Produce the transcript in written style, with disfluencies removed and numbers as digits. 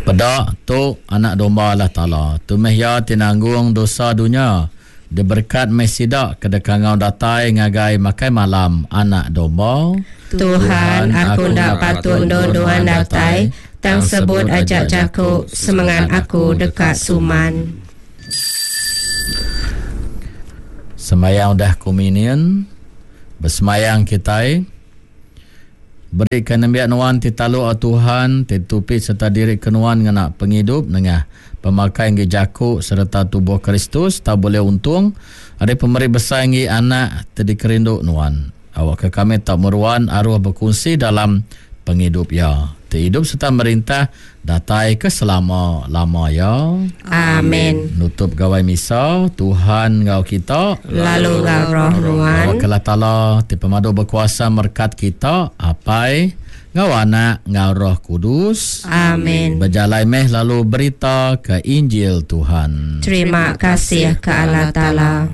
Peda, tu Anak Domba Allah Taala. Tu meh iya ti nanggung dosa dunya. Diberekat meh sida ke deka enggau datai ngagai makai malam Anak Domba. Tuhan, aku enda patut endur Nuan datai, tang sebut aja jaku, semengat aku deka suman. Sembahyang udah kommunion, besembahyang kitai. Berika nembiak Nuan ti taluk o Tuhan, ti tupi sereta diri ke Nuan ngena pengidup nengah pemakai enggi jaku sereta tubuh Kristus tau bulih untung ari pemeri besai enggi Anak ti dikerindu Nuan. Awakka kami tau meruan aruh bekunsi dalam pengidup Iya, ti idup sereta merintah datai ke selama-lama iya. Amin. Nutup Gawai Misa, Tuhan enggau kita. Lalu enggau roh nuan. Awakka Allah Taala ti pemadu bekuasa merekat kita, Apai, enggau Anak, enggau Roh Kudus. Amin. Bejalai meh lalu berita ke Injil Tuhan. Terima kasih ke Allah Taala.